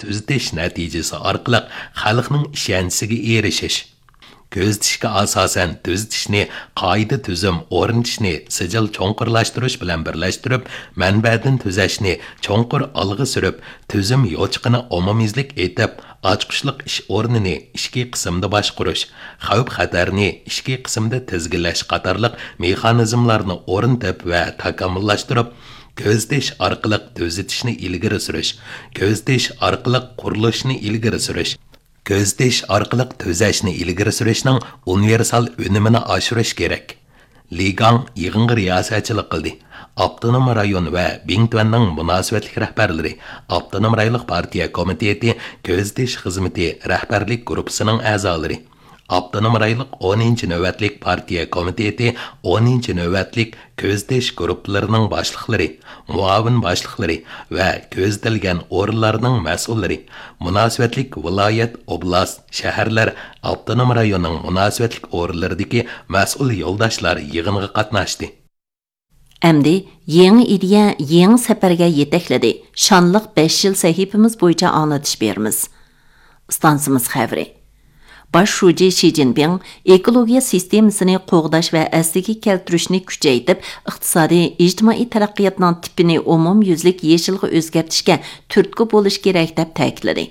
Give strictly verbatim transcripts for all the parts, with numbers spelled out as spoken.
تۈزىتىش نەتىجىسى ئارقىلىق خەلقنىڭ ئىشەنچىسىگە ئېرىشىش. كۆزىتىشكە ئاساسەن تۈزىتىشنى قائىدە تۈزۈم ئورنىتىشنى سىجىل چوڭقۇرلاشتۇرۇش بىلەن بىرلەشتۈرۈپ، مەنبەدىن تۈزەشنى چوڭقۇر ئالغا سۈرۈپ، تۈزۈم يوچۇقىنى ئومۇميۈزلۈك ئېتىپ، ئاچقۇچلۇق ئىش ئورنىنى ئىچكى قىسىمدا باشقۇرۇش، خەۋپ خەتەرنى ئىچكى قىسىمدا تىزگىنلەش قاتارلىق مېخانىزملارنى ئورنىتىپ ۋە تاكامۇللاشتۇرۇپ، كۆزىتىش ئارقىلىق تۈزىتىشنى ئىلگىرى سۈرۈش، كۆزىتىش ئارقىلىق قۇرۇلۇشنى ئىلگىرى سۈرۈش، كۆزىتىش ئارقىلىق تۈزەشنى ئىلگىرى سۈرۈشنىڭ ئۇنىۋېرسال ئۈنۈمىنى ئاشۇرۇش كېرەك. لى گاڭ يىغىنغا رىياسەتچىلىك قىلدى. ئاپتونوم رايون ۋە بىڭتۈەننىڭ مۇناسىۋەتلىك رەھبەرلىرى، ئاپتونوم رايونلۇق پارتىيە كومىتېتى كۆزىتىش خىزمىتى رەھبەرلىك گۇرۇپپىسىنىڭ ئەزالىرى، ئاپتونوم رايونلۇق ئونىنچى نۆۋەتلىك پارتىيە كومىتېتى ئونىنچى نۆۋەتلىك كۆزىتىش گۇرۇپپىلىرىنىڭ باشلىقلىرى، مۇئاۋىن باشلىقلىرى ۋە كۆزىتىلگەن ئورۇنلارنىڭ مەسئۇللىرى، مۇناسىۋەتلىك ۋىلايەت، ئوبلاست، شەھەرلەر، ئاپتونوم رايوننىڭ مۇناسىۋەتلىك ئورۇنلىرىدىكى مەسئۇل يولداشلار يىغىنغا قاتناشتى. ئەمدى يېڭى ئىدىيە، يېڭى سەپەرگە يېتەكلىدى. شانلىق بەش يىل سەھىپىمىز بويىچە ئاڭلىتىش بېرىمىز. ئىستانسىمىز خەۋىرى. باش شۇجى شى جىنپىڭ ئېكولوگىيە سىستېمىسىنى قوغداش ۋە ئەسلىگە كەلتۈرۈشنى كۈچەيتىپ، ئىقتىسادىي، ئىجتىمائىي تەرەققىياتنىڭ تىپىنى ئومۇميۈزلۈك يېشىلغا ئۆزگەرتىشكە تۈرتكە بولۇش كېرەك، دەپ تەكىتلىدى.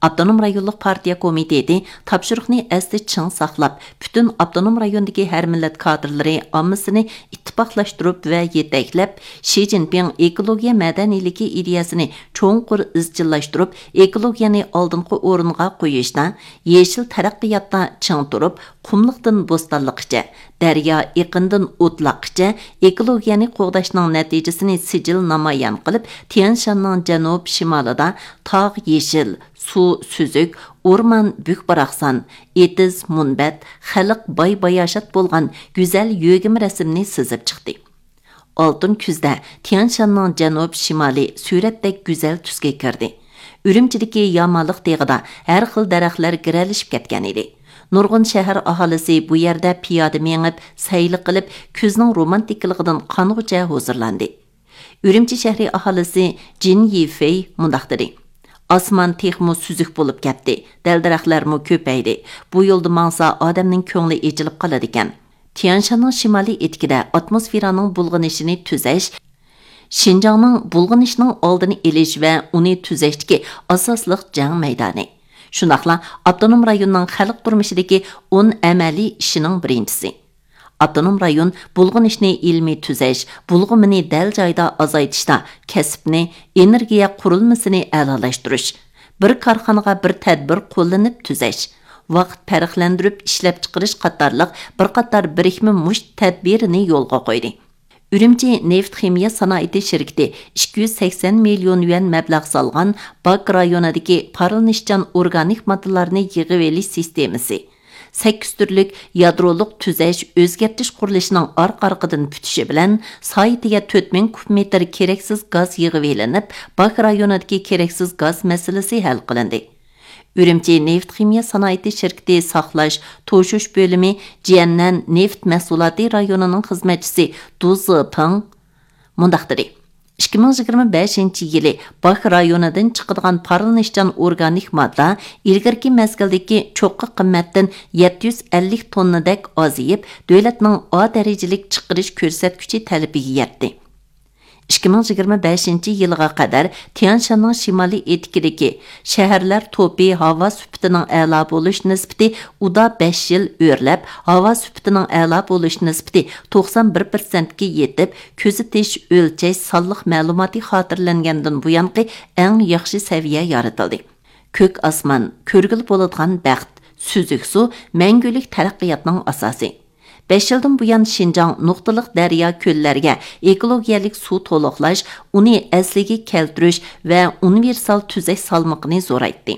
ئاپتونوم رايونلۇق پارتىيە كومىتېتى تاپشۇرۇقنى ئەستە چىڭ ساقلاپ، پۈتۈن ئاپتونوم رايوندىكى ھەر مىللەت كادىرلىرى ئاممىسىنى ئىتتىپاقلاشتۇرۇپ ۋە يېتەكلەپ، شى جىنپىڭ ئېكولوگىيە مەدەنىيلىكى ئىدىيەسىنى چوڭقۇر ئىزچىللاشتۇرۇپ، ئېكولوگىيەنى ئالدىنقى ئورۇنغا قويۇشتا، يېشىل تەرەققىياتتا چىڭ تۇرۇپ، قۇملۇقتىن بوستانلىققىچە، دەريا ئېقىندىن ئوتلاققىچە ئېكولوگىيەنى قوغداشنىڭ نەتىجىسىنى سىجىل نامايان قىلىپ، تيەنشاننىڭ جەنۇب شىمالىدا تاغ يېشىل، سۇ سۈزۈك، ئورمان بۈك-باراقسان، ئېتىز مۇنبەت، خەلق باي-باياشات بولغان گۈزەل يۆگىمە رەسىمنى سىزىپ چىقتى. ئالتۇن كۈزدە تيەنشاننىڭ جەنۇب شىمالى سۈرەتتەك گۈزەل تۈسكە كىردى. ئۈرۈمچىدىكى يامالىق تېغىدا ھەر خىل دەرەخلەر گىرەلىشىپ كەتكەن ئىدى. نۇرغۇن شەھەر ئاھالىسى بۇ يەردە پىيادە مېڭىپ، سەيلە قىلىپ، كۈزنىڭ رومانتىكىلىقىدىن قانغۇچە ھۇزۇرلاندى. ئۈرۈمچى شەھىرى ئاھالىسى جىن يىفېي مۇنداق دېدى: «ئاسمان تېخىمۇ سۈزۈك بولۇپ كەتتى، دەل-دەرەخلەرمۇ كۆپەيدى. بۇ يولدا ماڭسا، ئادەمنىڭ كۆڭلى ئېچىلىپ قالىدىكەن.» تيەنشاننىڭ شىمالىي ئېتىكىدە ئاتموسفېرانىڭ بۇلغىنىشىنى تۈزەش، شىنجاڭنىڭ بۇلغىنىشنىڭ ئالدىنى ئېلىش ۋە ئۇنى تۈزەشتىكى ئاساسلىق جەڭ مەيدانى. شۇنداقلا ئاپتونوم رايوننىڭ خەلق تۇرمۇشىدىكى ئون ئەمەلىي ئىشىنىڭ بىرىنچىسى. ئاپتونوم رايون بۇلغىنىشنى ئىلمىي تۈزەش، بۇلغىمىنى دەل جايىدا ئازايتىشتا كەسىپنى، ئېنېرگىيە قۇرۇلمىسىنى ئەلالاشتۇرۇش، بىر كارخانىغا بىر تەدبىر قوللىنىپ تۈزەش، ۋاقىت پەرقلەندۈرۈپ ئىشلەپچىقىرىش قاتارلىق بىر قاتار بىرىكمە مۇشت تەدبىرىنى يولغا قويدى. ئۈرۈمچى نېفىت خىمىيە سانائىتى شىركىتى ئىككى يۈز سەكسەن مىليون يۈەن مەبلەغ سالغان باك رايونىدىكى پارلىنىشچان ئورگانىك ماددىلارنى يىغىۋېلىش سىستېمىسى، سەككىز تۈرلۈك يادرولۇق تۈزەش ئۆزگەرتىش قۇرۇلۇشىنىڭ ئارقا-ئارقىدىن پۈتۈشى بىلەن، سائىتىگە تۆت مىڭ كۇب مېتىر كېرەكسىز گاز يىغىۋېلىنىپ، باك رايونىدىكى كېرەكسىز گاز مەسىلىسى ھەل قىلىندى. ئۈرۈمچى نېفىت خىمىيە سانائىتى شىركىتى ساقلاش، توشۇش بۆلۈمى جيەننەن نېفىت مەھسۇلاتى رايونىنىڭ خىزمەتچىسى دۇ زېپىڭ مۇنداق دېدى: «ئىككى مىڭ يىگىرمە بەشىنچى يىلى باك رايونىدىن چىقىدىغان پارلىنىشچان ئورگانىك ماددا ئىلگىرىكى مەزگىلدىكى چوققا قىممەتتىن يەتتە يۈز ئەللىك توننىدەك ئازىيىپ، دۆلەتنىڭ ئا دەرىجىلىك چىقىرىش كۆرسەتكۈچى تەلىپىگە يەتتى.» ئىككى مىڭ يىگىرمە بەشىنچى يىلغا قەدەر تيەنشاننىڭ شىمالىي ئېتىكىدىكى شەھەرلەر توپى ھاۋا سۈپىتىنىڭ ئەلا بولۇش نىسبىتى ئۇدا بەش يىل ئۆرلەپ، ھاۋا سۈپىتىنىڭ ئەلا بولۇش نىسبىتى توقسان بىر پىرسەنتكە يېتىپ، كۆزىتىش، ئۆلچەش سانلىق مەلۇماتى خاتىرىلەنگەندىن بۇيانقى ئەڭ ياخشى سەۋىيە يارىتىلدى. كۆك ئاسمان، كۆرگىلى بولىدىغان بەخت، سۈزۈك سۇ مەڭگۈلۈك تەرەققىياتنىڭ ئاساسى. بەش يىلدىن بۇيان شىنجاڭ نۇقتىلىق دەريا، كۆللەرگە ئېكولوگىيەلىك سۇ تولۇقلاش، ئۇنى ئەسلىگە كەلتۈرۈش ۋە ئۇنىۋېرسال تۈزەش سالمىقىنى زورايتتى.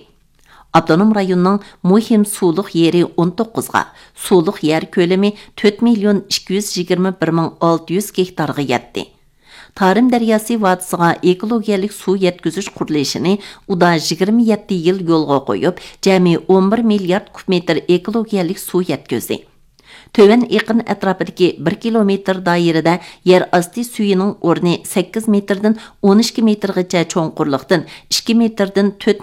ئاپتونوم رايوننىڭ مۇھىم سۇلۇق يېرى ئون توققۇزغا، سۇلۇق يەر كۆلىمى تۆت مىليون ئىككى يۈز يىگىرمە بىر مىڭ ئالتە يۈز گېكتارغا يەتتى. تارىم دەرياسى ۋادىسىغا ئېكولوگىيەلىك سۇ يەتكۈزۈش قۇرۇلۇشىنى ئۇدا يىگىرمە يەتتە يىل يولغا قويۇپ، جەمئىي ئون بىر مىليارد كۇب مېتىر ئېكولوگىيەلىك سۇ يەتكۈزدى. تۆۋەن ئېقىن ئەتراپىدىكى بىر كىلومېتىر دائىرىدە يەر ئاستى سۈيىنىڭ ئورنى سەككىز مېتىردىن ئون ئىككى مېتىرغىچە چوڭقۇرلۇقتىن، ئىككى مېتىردىن تۆت